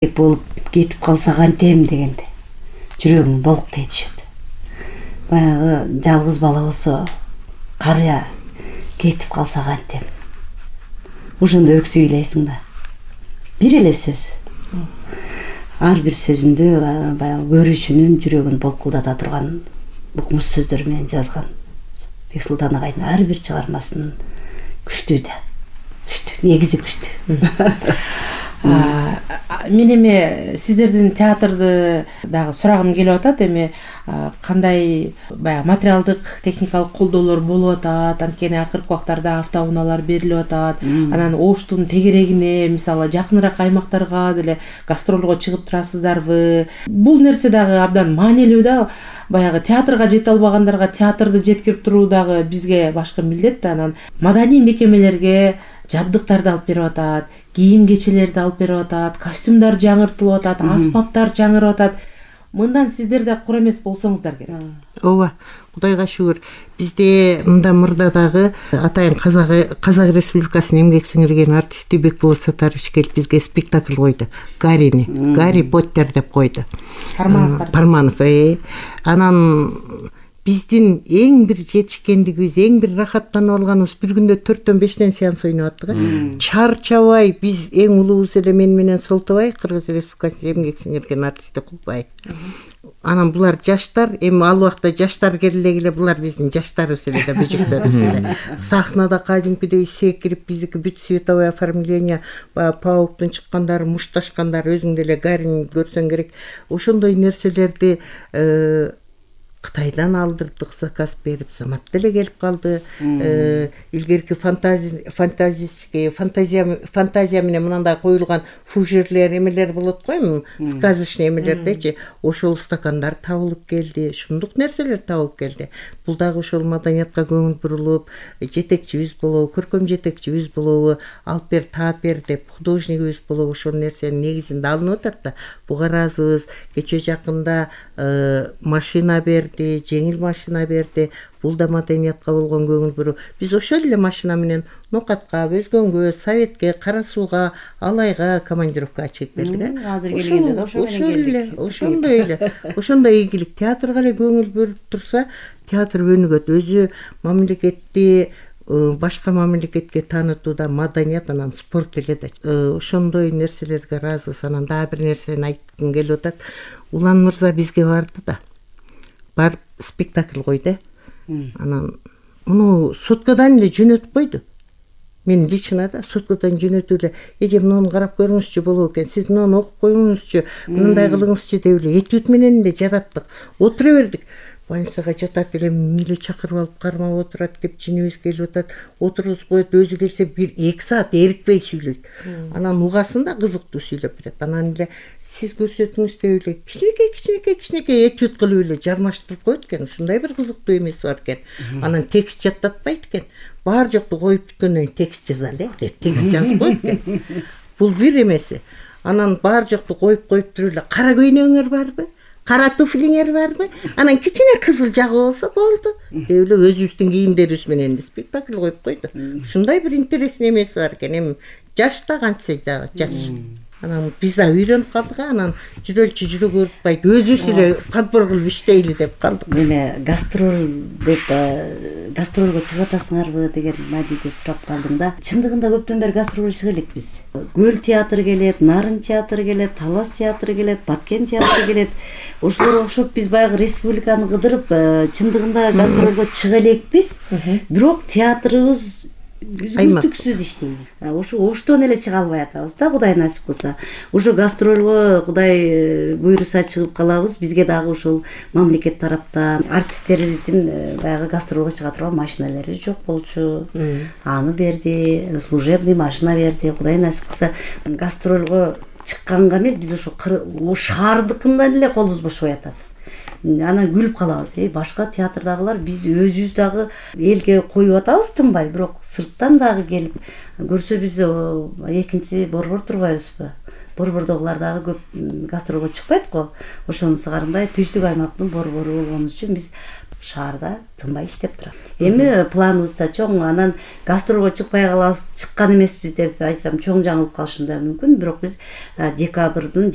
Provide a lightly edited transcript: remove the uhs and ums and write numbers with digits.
болуп кетип калса кантем дегенде жүрөгүң болуктей түшөт. Баягы жалгыз бала болсо, карыя кетип калса кантем. Ошондо өксүп ыйлайсың да. Бир эле сөз. Ар бир сөзүндө баягы көрүүчүнүн жүрөгүн болкулдата турган укмуш сөздөр менен жазган Бексултан агайдын ар бир чыгармасын күчтүү да. Күчтүү, негизи күчтүү. Мен эми сиздердин театрды дагы сурагым келип атат. Эми кандай баягы материалдык, техникалык колдоолор болуп атат, анткени акыркы убактарда автоунаалар берилип атат. Анан Оштун тегерегине, мисалы, жакыныраак аймактарга деле гастролго чыгып турасыздарбы? Бул нерсе дагы абдан маанилүү да. Баягы театрга жете албагандарга театрды жеткирип туруу дагы бизге башкы милдет да. Анан маданий мекемелерге жабдыктарды алып берип атат, кийим кечелерди алып берип атат, костюмдар жаңыртылып атат, аспаптар жаңырып атат. Мындан сиздер да кур эмес болсоңуздар керек. Ооба, Кудайга шүгүр. Бизде мындан мурда дагы атайын Казак Республикасынын эмгек сиңирген артисти Бекболот Сатарович келип бизге спектакль койду. Гарри Поттер деп койду. Парманов. Анан биздин эң бир жетишкендигибиз, эң бир рахаттанып алганыбыз бир күндө 4-5 сеанс ойноп аттык. Чарчабай биз эң улуубуз эле мен менен Солтобай, Кыргыз Республикасынын эмгек сиңирген артисти Кулбай. Анан булар жаштар, эми ал убакта жаштар келе булар биздин жаштарыбыз эле да, бөжөктөрүбүз эле. Сахнада кадимкидей секирип, биздики бүт световое оформление, пауктун чыккандары, мушташкандары, өзүң деле Гарин көрсөң керек. Ошондой нерселерди Кытайдан алдырдык, заказ берип, Замат деле келип калды. Илгерки фантазия менен мынандай коюлган фужерлер, эмелер болот го, сказочный эмелердечи, ошол стакандар табылып келди, шундук нерселер табылып келди. Бул дагы ошол маданиятка көңүл бурулуп, жетекчибиз болобу, көркөм жетекчибиз болобу, алып бер, таап бер деп художнигибиз болобу, ошол нерсенин негизинде алынып атат да. Буга ыраазыбыз. Кече жакында машина берди, жеңил машина берди. Бул да маданиятка болгон көңүл буруу. Биз ошол эле машина менен Нокатка, Өзгөнгө, Советке, Кара Сууга, Алайга командировкага чыгып бердик. Азыр келгенде да ошо менен келдик. Ошондой ийгилик. Театрга эле көңүл бөлүп турса, театр өнүгөт. Өзү мамлекетти башка мамлекетке таанытууда маданият, анан спорт эле да. Ошондой нерселерге ыраазыбыз. Анан дагы бир нерсени айткым келип атат. Улан мырза бизге барды да. Барып спектакль койду. Анан муну соткадан эле жөнөтүп койду. Мен лично да соткадан жөнөтүп эле, эже муну карап көрүңүзчү болот экен, сиз муну окуп коюңузчу, мындай кылыңызчы деп эле этюд менен эле жараттык. Отура бердик. Больницага жатат эле миле чакырып алып кармап отурат, кепчинибиз келип атат, отургузуп коет, өзү келсе 1-2 саат эрикпей сүйлөйт. Анан угасын да кызыктуу сүйлөп берет. Анан эле сиз көрсөтүңүз деп эле кичинекей этюд кылып эле жармаштырып коет экен. Ушундай бир кызыктуу эмеси бар экен. Анан текст жаттатпайт экен. Бар жокту коюп бүткөндөн кийин текст жазалы деп текст жазып коет экен. Бул бир эмеси. Анан бар жокту коюп туруп эле кара көйнөгүңөр барбы? Кара туфлиңер барбы? Анан кичине кызыл жагы болсо болду. Деп эле өзүбүздүн кийимдерибиз менен спектакль коюп койду. Ушундай бир интересный эмеси бар экен. Эми жаш да кантсе дагы жаш. Анан биз да үйрөнүп калдык. Анан жүрөлчү жүрө көрүпбайт. Өзүбүз эле подбор кылып иштейли деп калдык. Эме гастролго чыгып атасыңарбы деген мадиде сурап калдым да. Чындыгында көптөн бери гастролго чыга элекпиз. Көл театры келет, Нарын театры келет, Талас театры келет, Баткен театры келет. Ошолорго окшоп биз баягы республиканы кыдырып, чындыгында гастролго чыга элекпиз. Бирок театрыбыз үзгүлтүксүз иштейбиз. Ошо Оштон эле чыга албай атабыз да, Кудай насип кылса. Ошо гастролго Кудай буйруса чыгып калабыз. Бизге дагы ошол мамлекет тараптан артисттерибиздин баягы гастролго чыга турган машиналары жок болчу. Аны берди, служебный машина берди. Кудай насип кылса гастролго чыкканга эмес, биз ошо шаардыкынан эле колубуз бошобой атат. Анан күлүп калабыз. Башка театрдагылар биз өзүбүз дагы элге коюп атабыз тынбай, бирок сырттан дагы келип көрсө биз экинчи борбор турбайбызбы? борбордогулар дагы көп гастролго чыкпайт го. Ошонусу карындай түштүк аймактын борбору болгонубуз үчүн биз шаарда тынбай иштеп турабыз. Эми планыбыз да чоң, анан гастролго чыкпай калабыз, чыккан эмеспиз деп айтсам чоң жаңылып калышым да мүмкүн, бирок биз декабрдын